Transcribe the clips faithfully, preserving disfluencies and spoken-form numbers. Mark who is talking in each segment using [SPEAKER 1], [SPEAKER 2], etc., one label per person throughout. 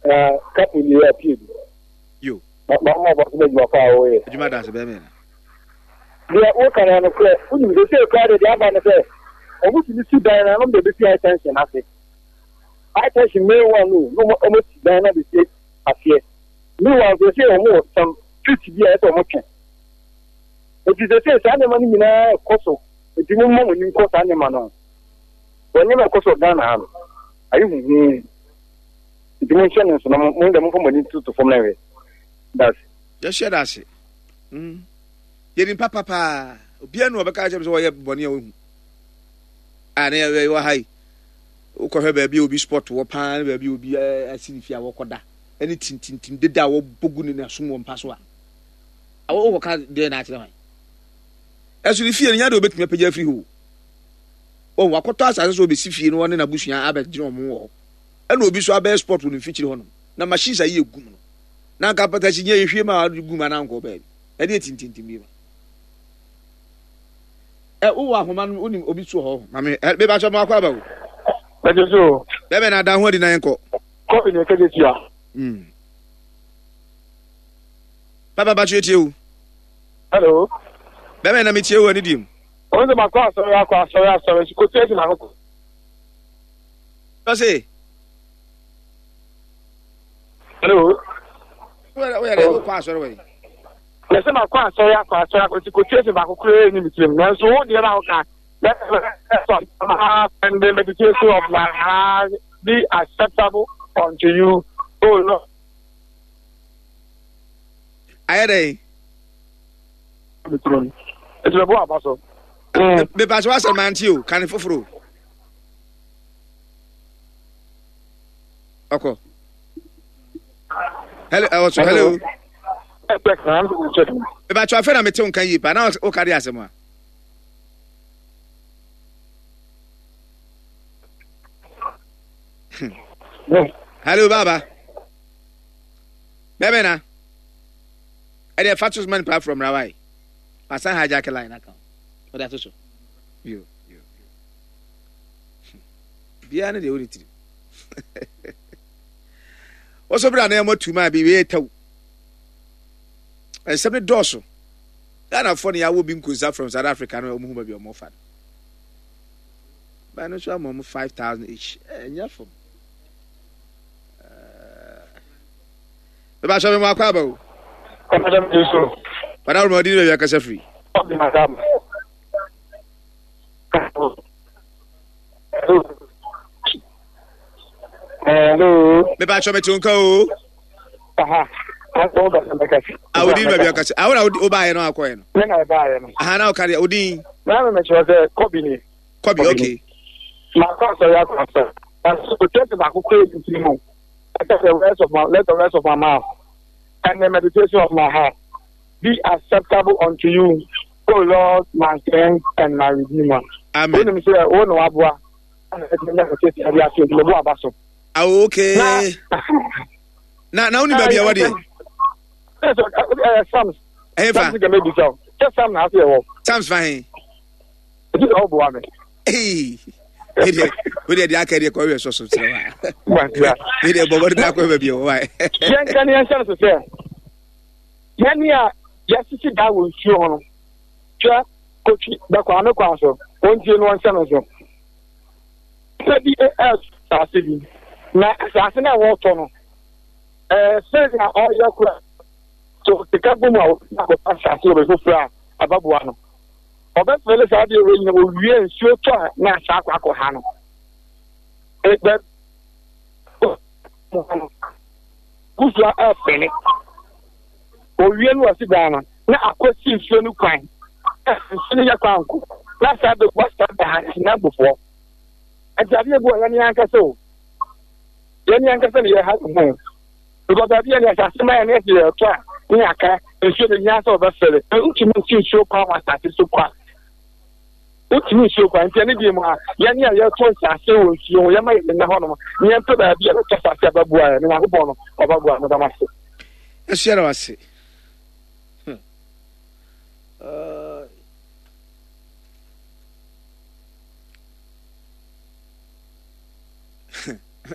[SPEAKER 1] Na kapo ni yɛ apue bi.
[SPEAKER 2] Yo.
[SPEAKER 1] Ma ma ma ɔbɔ so bɛ adwuma pa a wɔyɛ.
[SPEAKER 2] Adwuma da ase bɛrima na.
[SPEAKER 1] Deɛ woka no nokorɛ, wonim sɛ sɛ koraa deɛ deɛ aba no sɛ ɔmo tumi si dan na ɔmo de bɛsi high tension ase. High tension main one no, na ɔmo ɔmo si dan na bɛsi aseɛ. Meanwhile sɛ sɛ ɔmo wɔ some street bi a ɛsɛ ɔmo twɛn. Eti sɛ sɛ saa nneɛma no nyinaa ɛkɔ so, eti mo mma mo ani nkɔ saa nneɛma no ho. Wɔn nneɛma ɛkɔ so wɔ Ghana ha no, ayɛ huhuu. Nti mo nhyɛ no nso na mo mo deɛ momfa mo ani ntoto fam na nhwɛ. That's
[SPEAKER 2] Yɛhyɛ da ase. Mm. Yɛnim papa paa. Obiara nu ɔbɛka kyerɛ me sɛ wɔyɛ bɔne a wɔhu. A na yɛwɔ ha yi. Wokɔhwɛ baabi a obi spot wɔ paa ne baabi a obi asi ne fie a wɔkɔda ɛne tintintim deda a wɔbɔ gu ne n'asom wɔ mpa so a. Wokɔka deɛ na akyerɛ hwan? Ɛso ne fie no nya de obɛtumi apagya afiri hɔ. Wɔn wakɔtɔ asase so obɛsi fie no wɔne n'abusua abɛgyina wɔn wɔ hɔ. Ɛna obi so abɛyɛ spot wɔ ne mfikyiri hɔnom. Na machines ayi egu mu no. Na anka apatasi nyɛ ehwie ma ade gu mu anaa nkɔ baabi. Ɛde etintintim bi ma. Ɛ wowɔ ahoma no wonim obi so hɔ. Maame ɛ beba sɛ mo akɔ aba o.
[SPEAKER 1] Bɛgye so.
[SPEAKER 2] Bɛbɛ na ada ho adi na yɛn kɔ.
[SPEAKER 1] Kɔfi ne kɛgye tia.
[SPEAKER 2] Mm. Papa ba tie o.
[SPEAKER 1] Hello.
[SPEAKER 2] Bɛbɛ na metie o ani dim.
[SPEAKER 1] Wɔn sɛ makɔ asɔre akɔ asɔre asɔre nso kotu esi na akɔ.
[SPEAKER 2] Ɔse.
[SPEAKER 1] Hello.
[SPEAKER 2] Woyɛ dɛ wokɔ asɔre wɔ yi.
[SPEAKER 1] Yɛsɛ makɔ asɔre akɔ asɔre akɔ nti kotu esi baako koraa ni mi tirim nanso wo deɛ na woka. And the meditation of my heart be acceptable unto you, O Lord.
[SPEAKER 2] Ayɛ dɛ.
[SPEAKER 1] Mi tirim. Eti bɛ bɔ aba so.
[SPEAKER 2] Mepa so asɛm ante o, kane foforo. Ɔkɔ. Hello, ɛwɔ so, hello. Mepa so afɛ na mete wo nka yie paa, na woka de asɛm a. Hello, Baba. Bɛbɛ na. Ɛdeɛ fa to so ma nipa from Rawai. Wasan hijack line aka. Ɔde ato so. Yo, yo, yo. Biara ne deɛ wode tiri. Wɔsɔ bere a na yɛmmɔ tuma bi wei taw. Nsɛm ne dɔɔso. Ghanafoɔ ne yɛawɔ bi nkonsa from South Africa no wɔn ho baabi a wɔn fa no. Baa no nso ama wɔn five thousand each. Ɛnyɛ fam. Bɛba sɔ mi mu akɔ aba o. Bada wɔn ɔdi ne baabi akasa firi.
[SPEAKER 1] Hello.
[SPEAKER 2] Bɛba sɔ mi ti nka o.
[SPEAKER 1] Aha.
[SPEAKER 2] A odi ne baabi akasa. Awo na o ba yɛ no akɔ yɛ no.
[SPEAKER 1] Ne na ɛba yɛ no.
[SPEAKER 2] Aha na ɔka deɛ odi.
[SPEAKER 1] Na mi mɛkyerɛ sɛ kɔbi ni.
[SPEAKER 2] Kɔbi okay.
[SPEAKER 1] Maa kɔ asɔre akɔ asɔre. O tɛsi baako kɔ ebi ti mu. Ɛsɛ the words of my let the words of my mouth and the meditation of my heart be acceptable unto you, O Lord, my strength and my redeemer.
[SPEAKER 2] Amen.
[SPEAKER 1] Wonim sɛ wo na waboa ɛna ɛtumi nya kɛse ɛde ase nti mɛbo aba so.
[SPEAKER 2] Ah, okay. Na na wonim baabi a ɛwɔ deɛ?
[SPEAKER 1] Ɛyɛ Psalms.
[SPEAKER 2] Ɛyɛ fa.
[SPEAKER 1] Psalms kɛmɛ bisa o. Sɛ Psalm na ase ɛwɔ.
[SPEAKER 2] Psalms fa he.
[SPEAKER 1] Ɛti sɛ ɔboa me.
[SPEAKER 2] Ee. Ɛdeɛ wodeɛ deɛ aka deɛ kɔhwɛ sɔ so kyerɛ wa. Ɛdeɛ bɔbɔ de akɔ baabi ɛwɔ wa.
[SPEAKER 1] Yɛn ka ne yɛn hyɛ no so sɛ yɛn a yɛasisi da wɔ nsuo ho no hwɛ kotwi bɛkɔ ame kwan so wɔntie no wɔnhyɛ no so. Sɛ bi ɛɛso asase bi na asase no a wɔretɔ no ɛɛ sɛnea ɔyɛ kora so sika bɔ mu a wɔbɛtumi akɔtɔ asase wɔ baabi foforɔ a ɛbɛboa no. Ɔbɛfɛle saa adeɛ wei nyina wɔwie nsuo tɔ a na asa akɔ akɔ ha no. Ɛbɛ gusua ɛfɛle. Owie no wɔsi dan no na akɔsi nsuo no kwan. Nsuo no yɛ kwan nko na saa bɛgu asa da ha na abufoɔ. Nti adeɛ bi wɔ yɛn ankasa o. Yɛn ankasa na yɛha ho. Because baabi yɛ ne asase ma yɛn ɛsɛ yɛtɔ a ne aka nsuo de nyɛ sɛ ɔbɛfɛle. Wotumi nsi nsuo kwan wɔ asase so kwa. Wotumi nsuo kwan nti ɛne deɛ mu a yɛn a yɛtɔ nsase wɔ nsuo ho yɛma yɛn nna hɔnom ne yɛmpɛ baabi a yɛbɛtɔ asase a bɛboa yɛn ne Nyankopɔn no ɔbɛboa no dam ase.
[SPEAKER 2] Ɛhyɛ no ase. Hmm. Uh...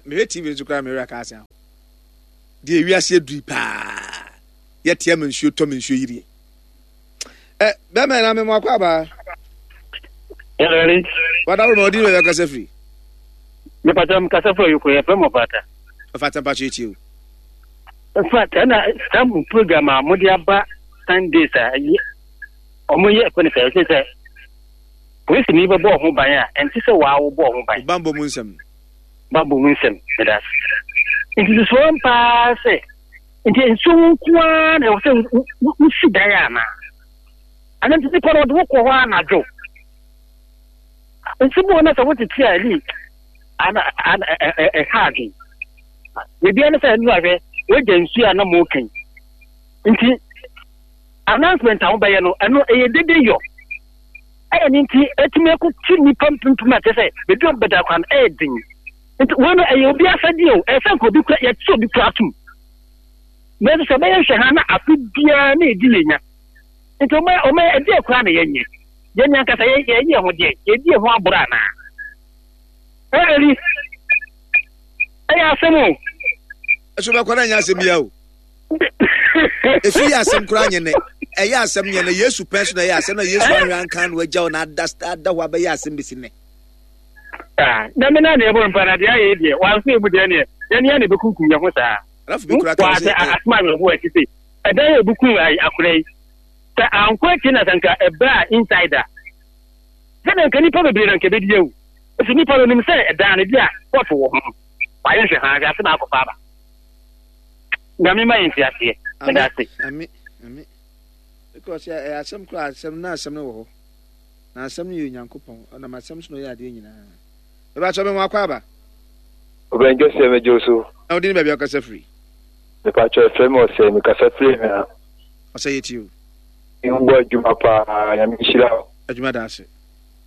[SPEAKER 2] Mehwɛ T V nso koraa mehwɛ aka ase aho. Deɛ ewiase aduri paa. Yɛte ama nsuo tɔ ma nsuo yirie. Ɛ bɛrima na memo akɔ abaa.
[SPEAKER 1] Ɛrɛri.
[SPEAKER 2] Wada wo na ɔdi baabi akasa firi.
[SPEAKER 1] Mepatwa m kasa firi ayoko yɛfrɛ mu ɔfata.
[SPEAKER 2] Ɔfata mpatwa etie o.
[SPEAKER 1] In fact, ɛna saa program a mode aba Sundays a ɔmo yɛ ɛfɛ no sɛ ɛsɛ sɛ polisi ni bɛbɔ ɔho ban a ɛnte sɛ waa wobɔ ɔho ban.
[SPEAKER 2] Bambɔ mu nsɛm.
[SPEAKER 1] Bambɔ mu nsɛm meda ase. Nti susuo paa sɛ nti nsuo ho nko ara na ɛwɔ sɛ wosi dan anaa? Ana nti nipa no ɔde wokɔ hɔ anadwo? Nti bi wɔ na sɛ wotete a ɛli ana ana ɛha adwen. Biribiara ne sɛ ɛnu ahwɛ wagya nsuo a na mo kan. Nti announcement a wobɛyɛ no ɛno ɛyɛ dede yɔ. Ɛyɛ ne nti ɛtumi akɔkyi nnipa mpempem a kyerɛ sɛ baabi a ɔbɛda kwan ɛyɛ den. Nti wei no ɛyɛ obi asɛdeɛ o, ɛyɛ sɛ nka obi kura yɛte obi kura atom. Nanso sɛ ɛbɛyɛ nhwɛ ha na afe biara na ɛdi yɛ nya. Nti ɔma ɔma ɛdeɛ koraa na yɛnyɛ. Yɛn ankasa yɛ yɛyɛ ho deɛ yɛdi yɛn ho aborɔ anaa? Ɛli ɛyɛ asɛm o.
[SPEAKER 2] Ɛso bɛkɔ na nyɛ asɛm bia o. Efi yɛ asɛm koraa nyɛ nɛ. Ɛyɛ asɛm nyɛ nɛ. Yesu pɛn so na ɛyɛ asɛm na Yesu ahwɛ anka na wagya na ada ada hɔ abɛyɛ asɛm besi nɛ.
[SPEAKER 1] Na me na na ɛbɔ mpa na deɛ ayɛ deɛ wanso emu deɛ neɛ yɛn yɛn na ɛbɛkunkum yɛn ho saa.
[SPEAKER 2] Alafo bi kura kan
[SPEAKER 1] sɛ asɛm awerɛhoɔ akyi sɛ ɛdan yɛ ebukum akora yi sɛ ankɔ akyi na sɛ nka ɛbɛ a insider sɛdeɛ nka nipa bebree na nka ɛbɛdi awu nso nipa no nim sɛ ɛdan no bi a kɔɔto wɔ ho wayɛ nhwɛ ha ahwɛ ase na akɔfa aba. Nyame ma yɛn nteaseɛ. Meda ase.
[SPEAKER 2] Ami, ami. Because ɛyɛ asɛm koraa asɛm na asɛm no wɔ hɔ. Na asɛm no yɛ Onyankopɔn. Ɔnam asɛm so na ɔyɛ adeɛ nyinaa. Bɛba kyɛ me ho akɔ aba.
[SPEAKER 3] Ɔbɛn Joseph megye wo so.
[SPEAKER 2] Na wode ne baabi akasa firi?
[SPEAKER 3] Mepakyɛ ɛfrɛ me ɔsɛ mekasa firi hwea.
[SPEAKER 2] Ɔsɛ yɛ tie o.
[SPEAKER 3] Wobɔ adwuma paa Nyame nhyira wo.
[SPEAKER 2] Adwuma da ase.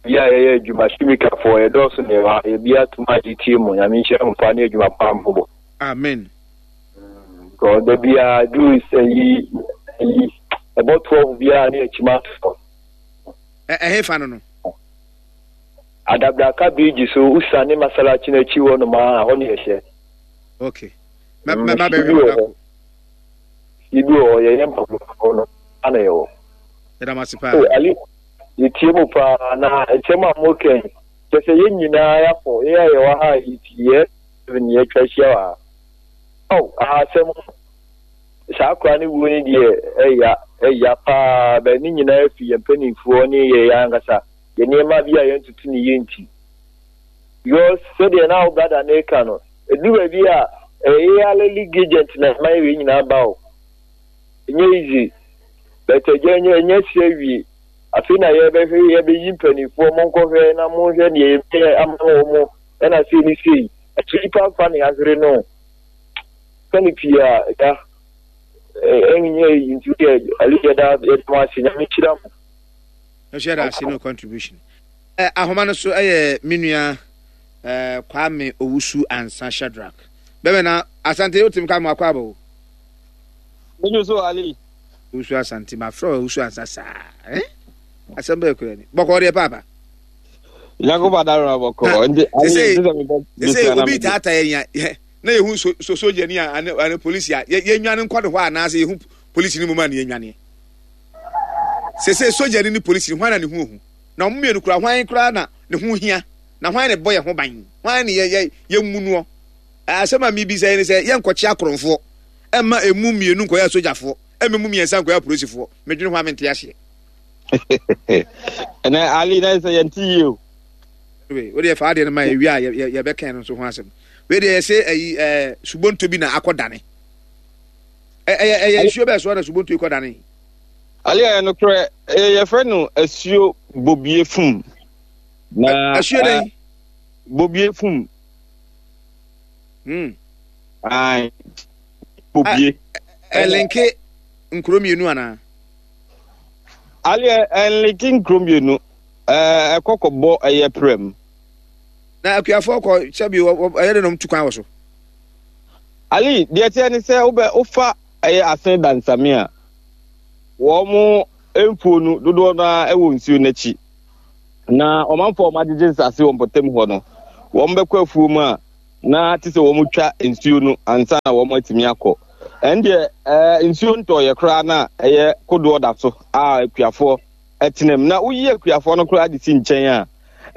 [SPEAKER 3] Bi a yɛyɛ adwuma simikafoɔ yɛdɔɔso ne ɛwɔ ha yɛbi atom a yɛtie mu Nyame nhyira mo paa ne adwuma paa mobɔ.
[SPEAKER 2] Amen.
[SPEAKER 3] Because da biara duru sɛ yi yi ɛbɔ twelve biara ne akyima atɔ.
[SPEAKER 2] Ɛhe fa no no?
[SPEAKER 3] Adabraka bridge so usa ne masalachi n'akyi hɔ nom a hɔ ne yɛhyɛ.
[SPEAKER 2] Okay. Mɛ mɛ bɛhwɛ hɔ dako.
[SPEAKER 3] Ibi wɔ hɔ yɛyɛ mpaboa hɔ no ana yɛwɔ.
[SPEAKER 2] Yɛda mo ase paa.
[SPEAKER 3] Oh, Ali, yɛtie mu paa na nsɛm a moka yi kyɛ sɛ yɛn nyinaa yɛafɔ yɛn a yɛwɔ ha a yɛtie yɛ ne yɛatwa ahyia wɔ ha. Oh, asɛm saa akora ne wuo ne deɛ ɛya ɛya paa bɛn ne nyinaa fi yɛn mpanimfoɔ ne yɛ yɛn ankasa yɛ nneɛma bi a yɛntutu ne yɛ nti. Because sɛdeɛ na wo brada ne ka no ɛdu baabi a ɛyɛ yɛ league agent na ɛma yɛ nyinaa ba o. Ɛnyɛ easy. But ɛgya ɛnyɛ ɛnyɛ si awie. Afei na yɛbɛhwɛ yɛbɛyi mpanimfoɔ monkɔhwɛ na monhwɛ deɛ yɛbɛyɛ ama wɔ mo ɛna sei ne sei. Ɛkyɛ nipa mfa ne ahwere no. Sɛne pii a ɛda ɛnyɛ yi nti deɛ ali yɛda yɛda mo ase Nyame nhyira mo.
[SPEAKER 2] Ɛhyɛ yɛda ase no contribution. Ɛ ahoma no so ɛyɛ me nua ɛɛ Kwame Owusu Ansa Shadrack. Bɛbɛ na Asante wotim ka mo akɔ aba o.
[SPEAKER 4] Menyo so Ali.
[SPEAKER 2] Owusu Asante ma frɛ Owusu Ansa saa. Eh? Asɛm bɛyɛ kura ni. Bɔkɔ deɛ paapa.
[SPEAKER 4] Nyankopɔn adaworo bɔkɔ. Nti Ali
[SPEAKER 2] sɛ mebɔ. Sɛ obi taataa yɛn ya na yɛhu so so sogyani a ane ane polisi a yɛnwane nkɔ ne hɔ anaasɛ yɛhu polisi no mu ma ne yɛnwaneɛ. Sese sogyani ne polisi hwan na ne ho ohu? Na wɔn mmienu kura hwan koraa na ne ho hia? Na hwan na ɛbɔ yɛn ho ban? Hwan ne yɛ yɛ yɛmmu noɔ? Asɛm a mebisa yi ne sɛ yɛnkɔkye akorɔmfoɔ ɛmma emu mmienu nkɔyɛ asogyafoɔ ɛmma emu mmiɛnsa nkɔyɛ apolisifoɔ. Medwene ho a mente aseɛ.
[SPEAKER 4] Ɛnɛ Ali na sɛ yɛnte yie o.
[SPEAKER 2] Wei wo deɛ fa adeɛ no ma yɛ wie a yɛbɛka no nso ho asɛm. Wei deɛ yɛsɛ ayi ɛɛ subonto bi na akɔdane. Ɛyɛ ɛyɛ nsuo bɛɛ soɔ na subonto yi kɔdane.
[SPEAKER 4] Ali ɛyɛ nokorɛ yɛfrɛ no asuo bobie fum.
[SPEAKER 2] Na asuo dɛn?
[SPEAKER 4] Bobie fum.
[SPEAKER 2] Hmm.
[SPEAKER 4] Ayi bobie.
[SPEAKER 2] Ɛlinke nkuro mmienu anaa?
[SPEAKER 4] Ali ɛlinke nkuro mmienu. Ɛkɔ kɔbɔ ɛyɛ prɛm.
[SPEAKER 2] Na akuafoɔ kɔ sɛbi ɛyɛ de nom tu kwan wɔ so.
[SPEAKER 4] Ali deɛ teɛ ne sɛ wobɛ wofa ɛyɛ asen dansame a wɔn mfuo no dodoɔ no ara ɛwɔ nsuo n'akyi. Na ɔmanfoɔ a wɔagyegye nsase wɔ mpɔtam hɔ no wɔn bɛkɔ afuo mu a Na te sɛ wɔn twa nsuo no ansa na wɔn atumi akɔ. Ɛn deɛ ɛɛ nsuo ntɔɔyɛ koraa na ɛyɛ kodoɔ da so a akuafoɔ ɛtena mu. Na woyi akuafoɔ no koraa de si nkyɛn a,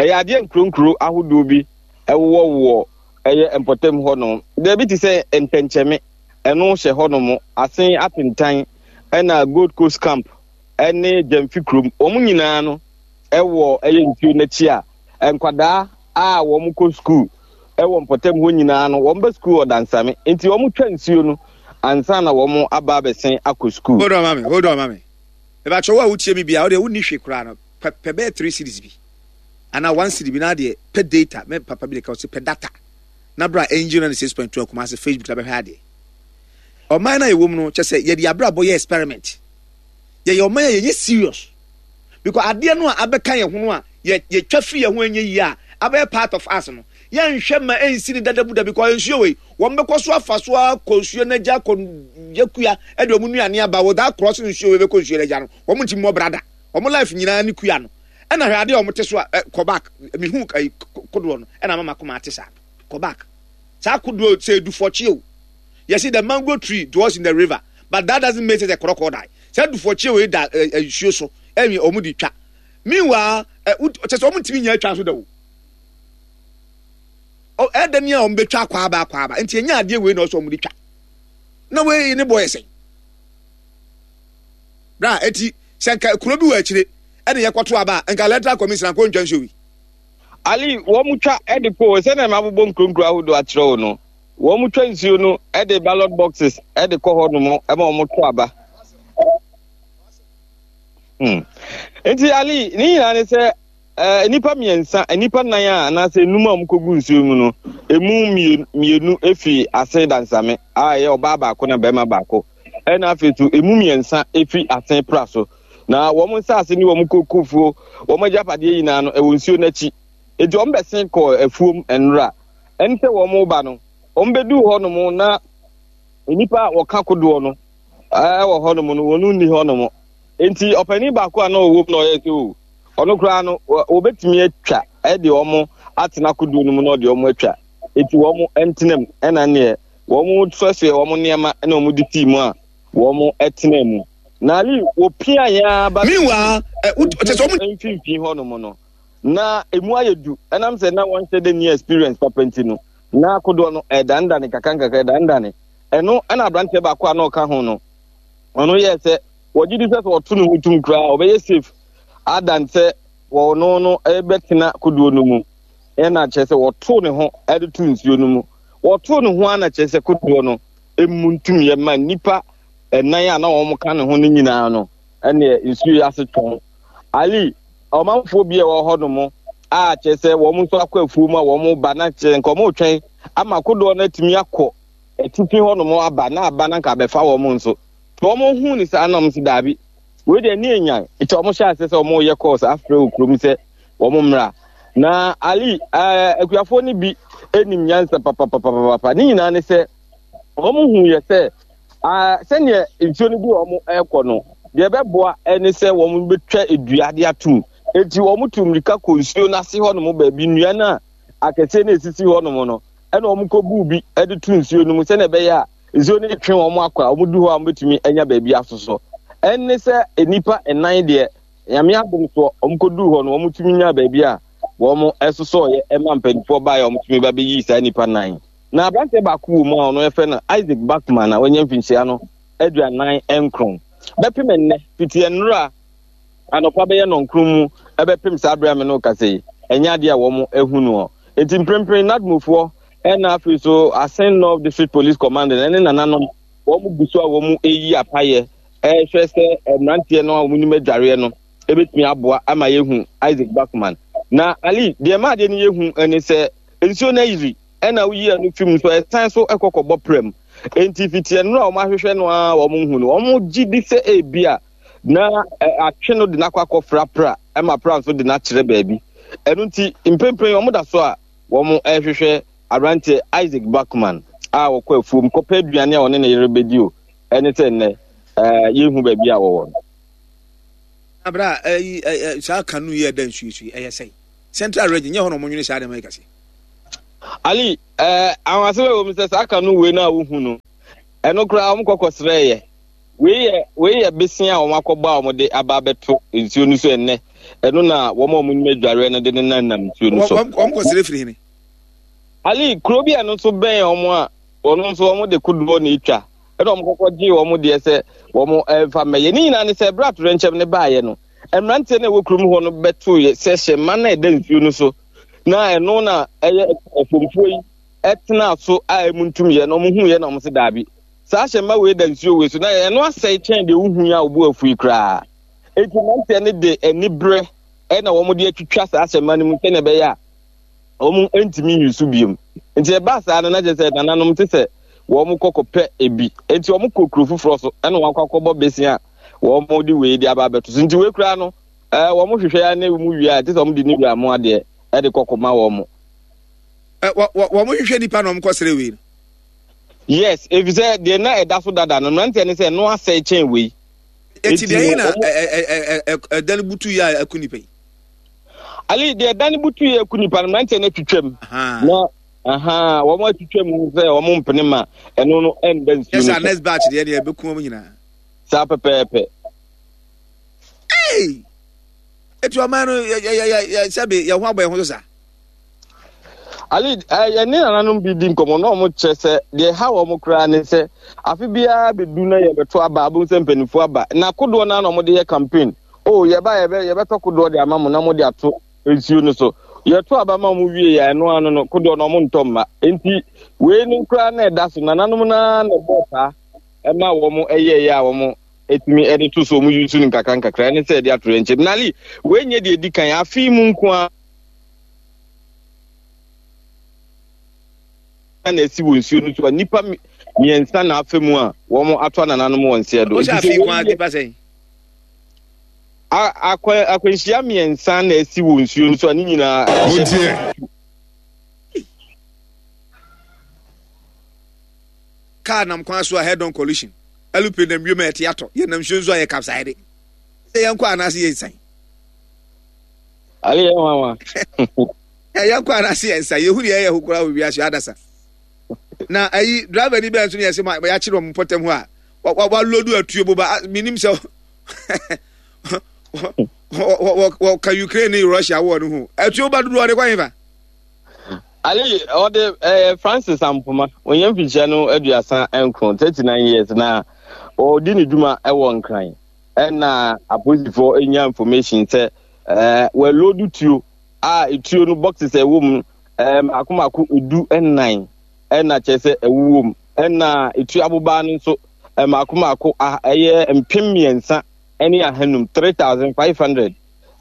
[SPEAKER 4] ɛyɛ adeɛ nkuronkuro ahodoɔ bi ɛwowɔwowɔ ɛyɛ mpɔtam hɔ nom. Baabi te sɛ Ntɛnkyɛme, ɛno hyɛ hɔ nom, Asen Atentan, ɛna Gold Coast Camp ɛne Gyamfi kurom. Wɔn nyinaa no ɛwɔ ɛyɛ nsuo n'akyi a nkwadaa a wɔn kɔ sukuu ɛwɔ mpɔtam hɔ nyinaa no, wɔn bɛ sukuu wɔ Dansame. Nti wɔn twa nsuo no ansa na wɔn aba abɛsen akɔ sukuu.
[SPEAKER 2] Hold on, mami, hold on, mami. Ebakyɛ wo a wotie mi bia, wo deɛ wonni hwee koraa no, pɛ pɛ bɛyɛ three cedis bi anaa one cedi bi na adeɛ pɛ data. Me papa bi de ka ɔsɛ pɛ data na bra Angel ninety six point two Kumasi Facebook na bɛhwɛ adeɛ. Ɔman na yɛwɔ mu no, kyɛ sɛ yɛde abrabɔ yɛ experiment. Yɛyɛ ɔman a yɛnyɛ serious because adeɛ no a abɛka yɛn ho no a yɛ yɛtwa firi yɛn ho ɛnyɛ yie a abɛyɛ part of us no, yɛnhwɛ ma ɛnsi ne dada bu da because nsuo wei wɔn bɛkɔ so afa so akɔ nsuo n'agya akɔ yɛ kua ɛde wɔn nnuane aba without crossing nsuo wei bɛkɔ nsuo n'agya no, wɔn ntumi mmɔ brada. Wɔn life nyinaa ne kua no. Ɛna hwɛ adeɛ a wɔn te so a ɛ kɔ back, mihu ɛyi kodoɔ no ɛna mama kɔma ate saa. Kɔ back, saa kodoɔ sɛ edufɔkye o, yɛsi the mango tree dwells in the river, but that doesn't make it a crocodile. Sɛ edufɔkye wei da ɛ ɛ nsuo so ɛmi wɔn de twa. Meanwhile, ɛ kyɛ sɛ wɔn ntumi nyɛ atwa so da o, ɛda ni a wɔn bɛtwa akɔ aba akɔ aba. Nti enya adeɛ wei na ɔsɛ wɔn de twa na wei ne bɔ yɛ sɛn bra. Eti sɛ nka kuro bi wɔ akyire ɛna yɛkɔto aba a, nka Electoral Commission akɔ ntwa nsuo wi.
[SPEAKER 4] Ali, wɔn twa ɛde kɔ sɛnea mabobɔ nkuronkuro ahodoɔ akyerɛ wo no, wɔn twa nsuo no ɛde ballot boxes ɛde kɔ hɔ nom ɛma wɔn to aba. hmm. Nti Ali, ne nyinaa ne sɛ ɛɛ nnipa mmiɛnsa, nnipa nan a anaasɛ enum a wɔkɔgu nsuo mu no, emu mmienu efi Asen Dansame a ɛyɛ ɔbaa baako na barima baako, ɛna afei so emu mmiɛnsa efi Asen Pra so. Na wɔn nsaase ne wɔn kokofuo, wɔn agyapadeɛ nyinaa no ɛwɔ nsuo n'akyi. Eti wɔn bɛsen kɔɔ afuom nnora. Ɛne sɛ wɔn ba no, wɔn bɛduu hɔnom na nnipa a wɔka kodoɔ no ɛwɔ hɔnom no, wɔn nni hɔnom. Nti ɔpanin baako a na ɔwɔ mu na ɔyɛ sɛ o, ɔno koraa no wɔbɛtumi atwa ɛde wɔn atena kodoɔ no mu na ɔde wɔn atwa. Eti wɔn ntena mu, ɛna neɛ wɔn soɛsoɛ wɔn nneɛma ɛna wɔn de sii mu a wɔn tena mu. Na Ali, wɔpia yɛn aba
[SPEAKER 2] Meanwhile, ɛ kyɛ sɛ wɔn
[SPEAKER 4] mfimfini hɔnom no na emu ayɛ du, ɛnam sɛ na wɔnhyɛ dɛ ni experience papa nti no, na kodoɔ no ɛdandane kakra nkakra ɛdandane. Ɛno ɛna aberanteɛ baako a na ɔka ho no, ɔno yɛɛ sɛ wɔgye di sɛ sɛ ɔto ne ho tum koraa ɔbɛyɛ safe adan sɛ wɔno no ɛbɛtena kodoɔ no mu. Ɛna kyerɛ sɛ wɔtoo ne ho ɛde to nsuo no mu. Wɔtoo ne ho ana kyerɛ sɛ kodoɔ no emu ntum yɛ ma nnipa ɛnan a na wɔn ka ne ho no nyinaa no, ɛneɛ nsuo yi ase twɔn. Ali, ɔmanfoɔ bi a ɛwɔ hɔ nom a kyerɛ sɛ wɔn nso akɔ afuo mu a wɔn ba na kyerɛ nka wɔn retwɛn ama kodoɔ no atumi akɔ atifi hɔ nom aba na aba na nka abɛfa wɔn nso. Wɔn hu ne saa na wɔn nso daabi, wei deɛ ne enyan. Nti wɔn hyɛ ase sɛ wɔn reyɛ course afrɛ wɔ kurom sɛ wɔn mmra. Na Ali, ɛɛ akuafoɔ no bi anim nyansa papapapapa. Ne nyinaa ne sɛ wɔn hu yɛ sɛ aa sɛnea nsuo no bi wɔn ɛrekɔ no, deɛ ɛbɛboa ɛne sɛ wɔn bɛtwa dua de atum. Eti wɔn tu mmirika kɔ nsuo no ase hɔnom baabi, nnua no a akɛseɛ no esisi hɔnom no, ɛna wɔn kɔ buu bi de to nsuo no mu sɛnea ɛbɛyɛ a nsuo no twe wɔn akɔ a wɔn du hɔ a wɔn bɛtumi anya baabi asosɔ. Ɛne sɛ nnipa nnan deɛ, Nyame adom soɔ, wɔn kɔ duu hɔ no, wɔn tumi nya baabi a wɔn ɛsosɔɔyɛ ɛma mpanimfoɔ baeɛ a wɔn tumi ba bɛyii saa nnipa nnan. Na aberanteɛ baako wɔ mu a ɔno yɛfrɛ no Isaac Bachman a wanya mfinhyia no aduanan nkron. Bɛpem nnɛ, fiti nnora anɔpa bɛyɛ nɔnkron mu ɛbɛpem saa berɛ a me ne wo kasa yi, ɛnyɛ adeɛ a wɔn ahu noɔ. Enti mprempren NADMOfoɔ ɛna afei so Asen North District Police Command ɛne nananom wɔn gu so a wɔn reyi apayɛ ɛrehwɛ sɛ mmeranteɛ no a wɔn nim adwareɛ no ɛbɛtumi aboa ama yɛhu Isaac Bachman. Na Ali, deɛ ɛma adeɛ no yɛhu ɛne sɛ nsuo no ayiri ɛna woyi ɛno fi mu nso ɛsan so ɛkɔ kɔbɔ prɛm. Enti fiti ɛno a wɔn ahwehwɛ no a wɔn hu no, wɔn gye di sɛ ebi a na atwe no de n'akɔ akɔfra pra ɛma pra nso de n'akyerɛ baabi. Ɛno nti mprempren wɔn da so a wɔn ɛrehwehwɛ aberanteɛ Isaac Bachman a wɔkɔ afuom kɔpɛ aduane a ɔne ne yere bɛdi o, ɛne sɛ nnɛ ɛɛ yɛnhu baabi a wɔwɔ no.
[SPEAKER 2] Abra ɛyi ɛɛ saa kanu yi ɛda nsuo so yi ɛyɛ sɛn? Central Region nyɛ hɔ na wɔn nwene saa nneɛma yi kɛse.
[SPEAKER 4] Ali, ɛɛ ahwasɛm a ɛwɔ mu sɛ saa kanu wei no a wohu no, ɛno koraa wɔn kɔkɔ srɛɛyɛ. Wei yɛ wei yɛ besia a wɔn akɔbɔ a wɔde aba abɛto nsuo no so ɛnnɛ. Ɛno na wɔn a wɔn nim adwareɛ no de ne nam nam nsuo no so.
[SPEAKER 2] Wɔn kɔ srɛ firi hene?
[SPEAKER 4] Ali, kuro bi a ɛno nso bɛn wɔn a wɔn nso wɔn de kodoɔ na etwa. Ɛna wɔn kɔkɔ gye wɔn deɛ sɛ wɔn ɛmfa mmɛyɛ. Ne nyinaa ne sɛ ɛberɛ atoyerɛnkyɛm no baeɛ no, mmeranteɛ no a ɛwɔ kurom hɔ no bɛtoo yɛ sɛ hyɛmma no a ɛda nsuo no so na ɛno na ɛyɛ ɛfomfoɔ yi ɛtenaa so a ɛmu ntum yɛ na wɔn hu yɛ na wɔn se daabi, saa hyɛmma wei da nsuo wei so na ɛno asɛe kyɛn deɛ wohu yi a wɔbu afu yi koraa. Enti mmeranteɛ no de aniberɛ ɛna wɔn de atwitwa saa hyɛmma no mu sɛnea ɛbɛyɛ a wɔn ntumi nyi so biom. Nti ɛbaa saa no na kyerɛ sɛ nananom te sɛ wɔn kɔ kɔpɛ ebi. Enti wɔn kɔ kuro foforɔ so ɛna wɔn akɔ akɔbɔ besia a wɔn de wei de aba abɛto so. Nti wei koraa no ɛɛ wɔn hwehwɛ ya ne mu wie a, te sɛ wɔn de ne wura mu adeɛ ɛde kɔ kɔma wɔn.
[SPEAKER 2] Ɛ wɔ wɔ wɔn hwehwɛ nipa na wɔn kɔ srɛ wei no.
[SPEAKER 4] Yes, efisɛ deɛ na ɛda so dada no, mmeranteɛ ne sɛ ɛno asɛe kyɛn wei.
[SPEAKER 2] Eti deɛ yi na ɛ ɛ ɛ ɛdan butu yi a ɛku nipa yi.
[SPEAKER 4] Ali, deɛ ɛdan butu yi ɛku nipa no, mmeranteɛ no atwitwam. Na aha, wɔn atwitwam sɛ wɔn mpene ma ɛno no ɛnda nsuo no so.
[SPEAKER 2] Yɛ sɛ next batch deɛ deɛ ɛbɛku wɔn nyinaa.
[SPEAKER 4] Saa pɛpɛɛpɛ.
[SPEAKER 2] Hey! Eti ɔman no yɛ yɛ yɛ yɛ sɛbi yɛ ho abɔ yɛn ho so saa.
[SPEAKER 4] Ali, eh, yɛne nananom bi di nkɔmmɔ na wɔn kyerɛ sɛ deɛ ɛha wɔn koraa ne sɛ afe biara bɛdu na yɛbɛto aba, abom sɛ mpanimfoɔ aba na kodoɔ no na wɔde yɛ campaign. O, yɛba yɛbɛ yɛbɛtɔ kodoɔ de ama mo na mode ato nsuo no so. Yɛto aba ma wɔn wie yɛ ɛno ano no, kodoɔ no wɔn ntɔ mma. Nti wei no koraa na ɛda so nananom no ara na ɛbɔɔ saa ɛma wɔn ɛyɛɛyɛ a wɔn ɛtumi ɛde to so, wɔn yi so no nkakra nkakra ɛne sɛ ɛde ato yɛn nkyɛn. Nali, wei nyɛ deɛ edi kan afe yi mu nko ara na ɛsi wɔ nsuo no so a nnipa mmiɛnsa na afa mu a wɔn ato anananom wɔ nseɛ do.
[SPEAKER 2] Nti sɛ wɔn nipa sɛn?
[SPEAKER 4] Akwa akwanhyia mmiɛnsa na ɛsi wɔ nsuo no so a ne nyinaa.
[SPEAKER 5] Montie.
[SPEAKER 2] Kaa nam kwan so a head on collision, aeroplane nam wiem a ɛte atɔ, yɛnam nsuo nso a yɛ capsize. Sɛ yɛnkɔ anaasɛ yɛnsan?
[SPEAKER 4] Ale yɛ nwanwa.
[SPEAKER 2] Yɛnkɔ anaasɛ yɛnsan? Yɛhu deɛ ɛyɛ ho koraa wɔ wiase adasa. Na ayi driver ni bɛn nso ne yɛsɛ ma yɛakyere wɔn mpɔtam hɔ a walodu atuo boba, menim sɛ wɔka Ukraine ne Russia wɔ no ho atuo boba dodoɔ ɔde kɔ hefa?
[SPEAKER 4] Ali, ɔde ɛyɛ Francis Ampoma, ɔnyɛ mfikyia no aduasa nkron, thirty nine years, na ɔdi ne dwuma ɛwɔ Nkran. Ɛna apolisifoɔ anya information sɛ ɛɛ wɔalodu tuo a etuo no boxes a ɛwɔ mu ɛɛ mako mako edu nnan ɛna kyerɛ sɛ ɛwowɔ mu. Ɛna etuo abobaa no nso mako mako ɛyɛ mpem mmiɛnsa ɛne ahanum, three thousand five hundred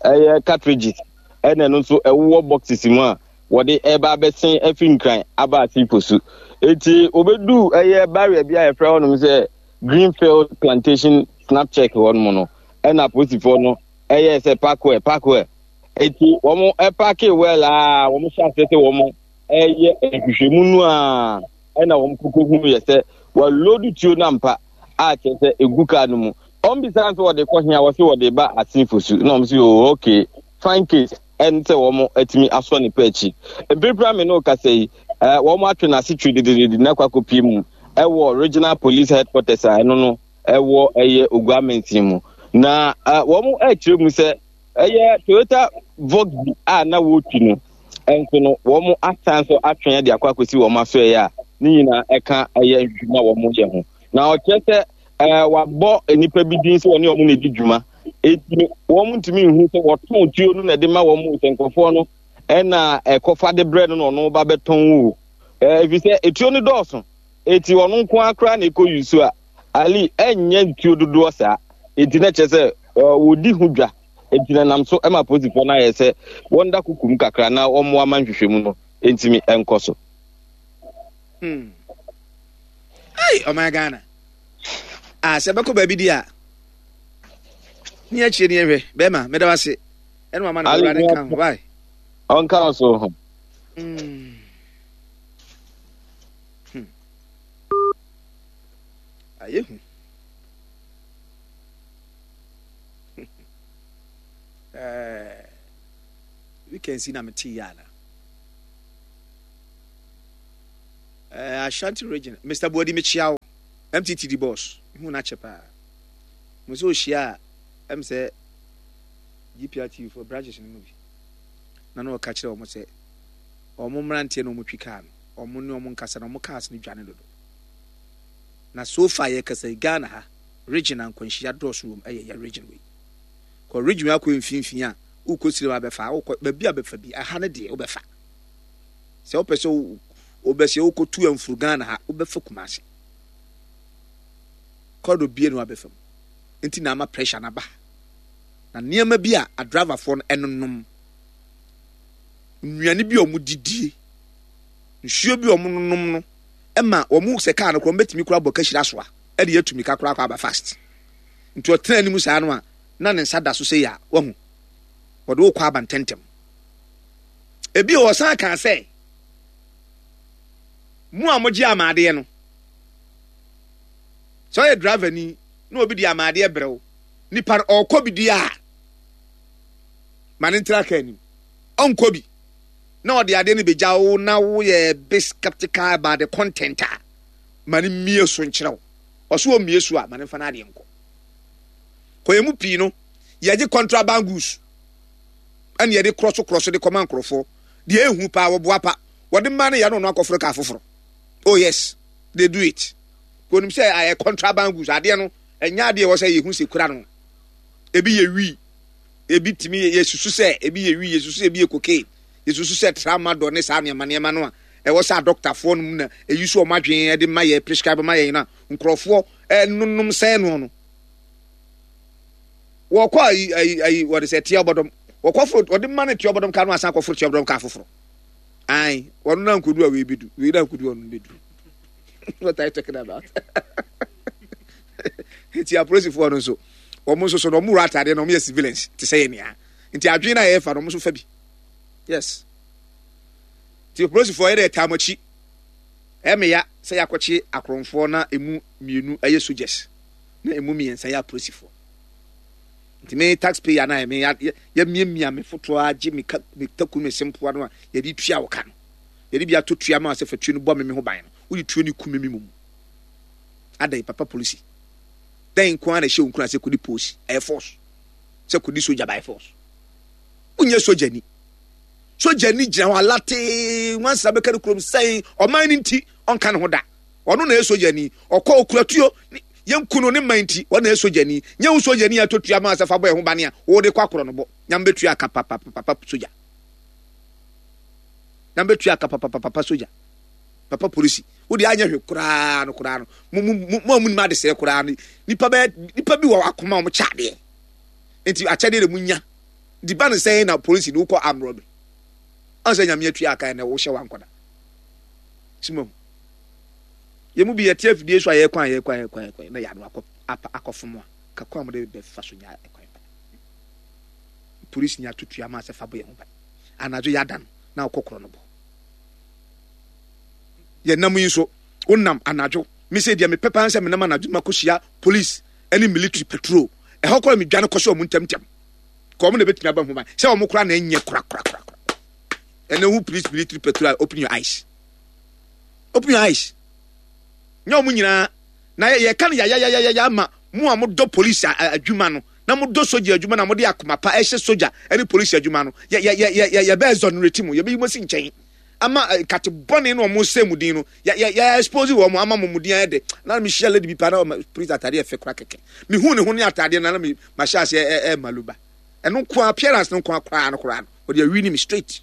[SPEAKER 4] ɛyɛ cartridges, ɛna ɛno nso ɛwowɔ boxes mu a wɔde ɛreba abɛsen afiri Nkran aba Asipo so. Eti obedu ɛyɛ barrier bi a yɛfrɛ hɔnom sɛ Greenfield Plantation snap check hɔnom no, ɛna apolisifoɔ no ɛyɛ sɛ park well, park well. Eti wɔn ɛpaake well a wɔn hyɛ aseɛ sɛ wɔn ɛyɛ nhwehwɛmu no a, ɛna wɔn koko hu yɛ sɛ wɔalodu tuo no ampa a kyerɛ sɛ egu kaa no mu. Wɔn bisa nso wɔde kɔ hia, wɔsi wɔde ba Asinfo su, na wɔn si oh okay, fine case, ɛne sɛ wɔn atumi asɔ ne pɛ akyi. Mprempren a me ne wo kasa yi, ɛɛ wɔn atwe n'ase twi dededede na akɔ akɔpie mu ɛwɔ Regional Police Headquarters a ɛno no ɛwɔ ɛyɛ Ogua Mansin mu. Na ɛɛ wɔn ɛrekyerɛ mu sɛ ɛyɛ Toyota Voxy a na wɔretwi no nso no, wɔn asan so atwe de akɔ akɔsi wɔn asoɛeɛ a ne nyinaa ɛka ɛyɛ nhwehwɛmu a wɔn yɛ ho. Na ɔkyerɛ sɛ ɛɛ wabɔ nnipa bi din sɛ wɔne wɔn na edi dwuma, eti wɔn ntumi nhu sɛ wɔtɔn tuo no na ɛde ma wɔn, sɛ nkurɔfoɔ no ɛna ɛkɔfa de brɛ no na ɔno ba bɛtɔn o, ɛɛ efi sɛ etuo no dɔɔso, eti ɔno nko ara koraa na ekɔ yusu a ali ɛnyɛ ntuo dodoɔ saa, eti na kyerɛ sɛ ɛɛ wɔdi ho dwa, eti na nam so ɛma apolisifoɔ no ayɛ sɛ wɔn da kukum kakra na wɔn mmoa ma nhwehwɛmu no ntumi nkɔ so.
[SPEAKER 2] Hmm. Hey, ɔman Ghana. Ah, sɛ bɛkɔ baabi di a, ne akyire ne yɛhwɛ. Bɛrima, meda wo ase. Ɛne wama no Awurade nka ho. Bye.
[SPEAKER 4] Ɔnka wo so ho.
[SPEAKER 2] Mm. Hmm. Ayɛ hu. Eh, weekend si na mete yɛ ana. Ashanti Region, Mister Buadi, mekyia wo. M T T D boss, hu no akyɛ paa. Mo sɛ ohyia a, ɛm sɛ G P R T V for branches no mu bi. Na na ɔka kyerɛ wɔn sɛ wɔn mmeranteɛ na wɔn twi kaa no, wɔn ne wɔn nkasa na wɔn cars no dwane dodo. Na so far yɛkasa yi, Ghana ha, region a nkwanhyia dɔɔso wɔ mu ɛyɛ yɛ region wei. Kɔ region akɔ mfimfini a, wokɔ Sirem abɛfa, wokɔ baabi a bɛfa bi, ɛha no deɛ wobɛfa. Sɛ wopɛ sɛ wobɛsɛ wokɔtu amfuru Ghana ha, wobɛfa Kumase. Kɔdɔ bie no abɛfa mu. Nti na ama pressure no aba. Na nneɛma bi a adriverfoɔ no ɛnonom, nnuane bi a wɔn didie, nsuo bi a wɔn nonom no, ɛma wɔn sɛ kaa no koraa wɔn bɛtumi koraa bɔ kahyira so a ɛde yɛ tumi ka koraa kɔ aba fast. Nti ɔtena anim saa no a, na ne nsa da so sɛ yɛ a wahu wɔde wokɔ aba ntɛntɛm. Ebi wɔ ɔsan kan sɛ mu a mogye amaadeɛ no, sɛ ɔyɛ driver ni na obi de amaadeɛ brɛw nipa no, ɔrekɔ bi di a, ma ne ntena kaa anim. Ɔnkɔ bi na ɔde adeɛ no bɛgya wo na woyɛ bit skeptical about the content a, ma ne mmie so nkyerɛ wo. Ɔso ɔmmie so a, ma ne mfa no adeɛ nkɔ. Kɔyɛ mu pii no, yɛgye contraband goods ɛne yɛde korɔ so korɔ so de kɔma nkurɔfoɔ deɛ ehu paa. Wɔboa pa wɔde mmaa no yɛ no, ɔno akɔforo kaa foforɔ. Oh yes, they do it. Kò sɛ ayɛ contraband goods. Adeɛ no ɛnyɛ adeɛ wɔ sɛ yɛhu sɛ kura no. Ebi yɛ wii, ebi tumi yɛ susu sɛ ebi yɛ wii, yɛ susu sɛ ebi yɛ cocaine, yɛ susu sɛ tramadol ne saa nneɛma nneɛma no a ɛwɔ sɛ adɔktafoɔ no mu na eyi so wɔn adwene de ma yɛ, prescribe ma yɛn, na nkurɔfoɔ ɛnonom sɛn no no wɔkɔ ayi ayi ayi wɔde sɛ tia ɔbɔdɔm, wɔkɔ foro, wɔde ma no tia ɔbɔdɔm kaa no, asan akɔforo tia ɔbɔdɔm kaa foforɔ. Ayi wɔn na nkodu a wei bi du, wei na nkodu ɔno bi du. What are you talking about? Nti apolisifoɔ no nso, wɔn nso so no, wɔn wura ataadeɛ na wɔn yɛ civilians te sɛ yɛn nia, nti adwene na yɛfa no, wɔn nso fa bi. Yes, nti apolisifoɔ yɛ dɛ ɛtaa mo akyi. Ɛmɛ ya sɛ yɛakɔkye akorɔmfoɔ na emu mmienu ɛyɛ soldiers na emu mmiɛnsa yɛ apolisifoɔ. Nti me taxpayer na me yɛ miamia me fotoɔ agye me ka me taku me sempoa no a yɛde tua wɔ ka no, yɛde bi ato tua ma sɛ fa tuo no bɔ me me ho ban no, wode tuo no ku me me mu adan. Papa polisi dan nko ara na ɛhyɛ wo nkura sɛ kɔdi polisi ɛyɛ force, sɛ kɔdi soja by force. Wonyɛ soja ni, soja ni gyina hɔ alatee nwansena bɛka no kurom sɛn ɔman no nti ɔnka ne ho da. Ɔno na ɛyɛ soja ni, ɔkɔ okura tuo, yɛnku no ne man nti ɔno na ɛyɛ soja ni. Nyɛ wo soja ni ato tua ma sɛ fa bɔ ɛho bane a wɔde kɔ akorɔ no bɔ. Nyame bɛtua aka papapapa soja, nyame bɛtua aka papapapa soja. Papa polisi, wode anyɛ hwɛ koraa no koraa no, mo mo mo a mo nim adesɛɛ koraa no, nipa bɛyɛ nipa bi wɔ akoma a wɔn kyɛ adeɛ nti akyɛdeɛ de mo nya nti ba ne sɛn na polisi de wokɔ armed robbery ɔn sɛ Nyame atua aka na wohyɛ wankɔda simam. Yɛn mu bi yɛte afidie so a, yɛkwan a yɛkwan yɛkwan yɛkwan na yɛano akɔ apa akɔfom a kakwan a wɔde bɛfa so nya ɛkwan pa. Polisi nya tutu ama sɛ fa bɔ yɛn ho ban anadwo, yɛada no na ɔkɔ korɔ no bɔ. Yɛnam yi nso, wonam anadwo, me sɛ deɛ mepɛ paa sɛ menam anadwo makɔhyia police ne military patrol, ɛhɔ kora medwane kɔhyɛ ɔmo ntɛmntɛm ka ɔmo na ɛbɛtumi aba ho ban sɛ ɔmo kora na ɛnyɛ korakorakora. Ɛnɛ hu police, military patrol, open your eyes, open your eyes. Nyɛ ɔmo nyinaa na yɛka no yayayayaya ama mo a modɔ police adwuma no na modɔ sogya adwuma na mode akoma pa ɛhyɛ sogya ne police adwuma no, yɛbɛ exonerate mu, yɛbɛyi mo asi nkyɛn ama nkate bɔne no ɔmo sɛ mu din no, yɛ yɛ expose wɔn ama mo mu din ayɛ de. Na mi hyia lady bi pa na ɔma police ataadeɛ ɛfɛ kora kɛkɛ, mi hu ne ho ne ataadeɛ na na mi ma hyɛ aseɛ ɛ ɛ maluba ɛno nko, appearance no nko koraa no koraa no, ɔde awi ni mi straight.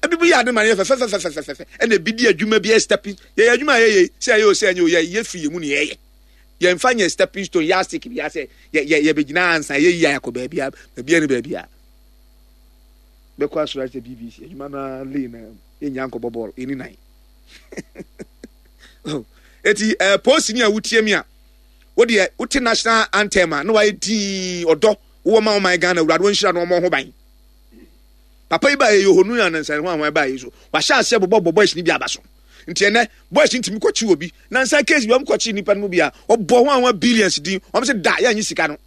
[SPEAKER 2] Ebi bi yɛ ade ma no yɛ fɛfɛfɛfɛfɛfɛ, ɛna ebi di adwuma bi yɛ stepping. Yɛyɛ adwuma a yɛyɛ sɛ ɛyɛ o sɛ ɛnyɛ o, yɛ yɛ firi yɛ mu ne yɛyɛ, yɛnfa nyɛ stepping stone, yardstick bi asɛ yɛ yɛ yɛbɛgyina ansa yɛ yi ayakɔ baabi a baabi a ne baabi a bɛkɔ asoro ahyɛ B B C adwuma no lane na yɛnya nkɔbɔ bɔɔl ɛni nan. Eti ɛɛ polisi ni a wotie mi a, wodeɛ wote national anthem a na wayɛ dii ɔdɔ wowɔ ma ɔman Ghana. Awurade wɔnhyira no, ɔmɔ ho ban. Papa yi ba yɛ yohonu na nansa ho ahoa ba yi so wahyɛ aseɛ bɔbɔ bɔ boys ni bi aba so. Nti ɛnɛ boys ntumi kɔkye obi nansa case bi, wɔn kɔkye nipa no mu bi a ɔbɔ ho ahoa billions din, wɔn sɛ da yɛnyi sika no,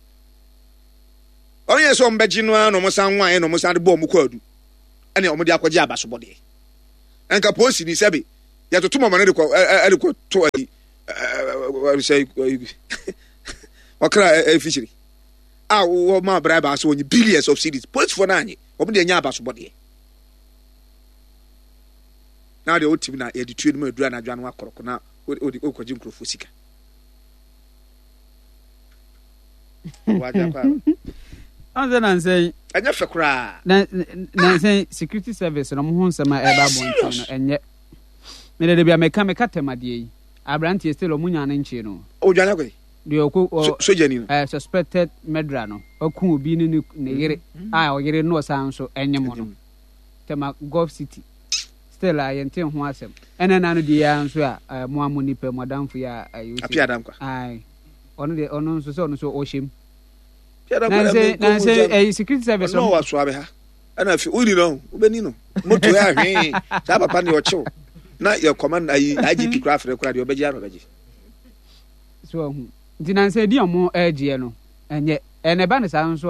[SPEAKER 2] wɔn yɛ sɛ wɔn bɛgye no ara na wɔn san nwan na wɔn san de bɔ wɔn kɔ adu ɛna wɔn de akɔgye abasobɔdeɛ. Nka polisi ni sɛbi Yɛtoto mɔmɔ no de kɔ ɛde kɔ to ayi sɛ ɔkra ɛfikyiri a wɔma bribe ase wɔnye billions of cedis. Polisifoɔ no anye wɔn deɛ nya abasobɔdeɛ na deɛ wotim na yɛde tue no mu aduru anadwo ano akorɔko na wode wokɔgye nkurɔfoɔ sika.
[SPEAKER 5] Ɔnsɛ nansɛn
[SPEAKER 2] ɛnyɛ fɛ koraa.
[SPEAKER 5] Nansɛn security service no mo ho nsɛm a ɛba abɔnten no ɛnyɛ mede de bia meka meka tɛm adeɛ yi aberanteɛ still ɔmo nya ne nkyee no.
[SPEAKER 2] Odwane akɔ yi
[SPEAKER 5] deɛ ɔkɔ ɔ
[SPEAKER 2] sojani no
[SPEAKER 5] ɛɛ suspected murderer no ɔku obi ne ne ne yere a ɔyere no ɔsan nso ɛnyɛ mo no Tema Gulf City still a yɛnte ho asɛm ɛna ɛna no deɛ yɛ nso a ɛɛ mo a mo nipa mo adamfo yi a ɛyɛ
[SPEAKER 2] Apia Adankwa.
[SPEAKER 5] Ae ɔno deɛ ɔno nso sɛ ɔno nso ɔhyɛ mu nansɛ nansɛ ɛyi security service
[SPEAKER 2] ɔno wɔ asoa bɛ ha ɛna afi wodi no wobɛni no moto yɛ ahwee saa papa ne ɔkyew na yɛ kɔma ayi I G P kora afrɛ kora deɛ ɔbɛgye ano ɔbɛgye.
[SPEAKER 5] So ahu nti nansɛ di ɔmo ɛgyeɛ no ɛnyɛ ɛna ɛba ne saa nso.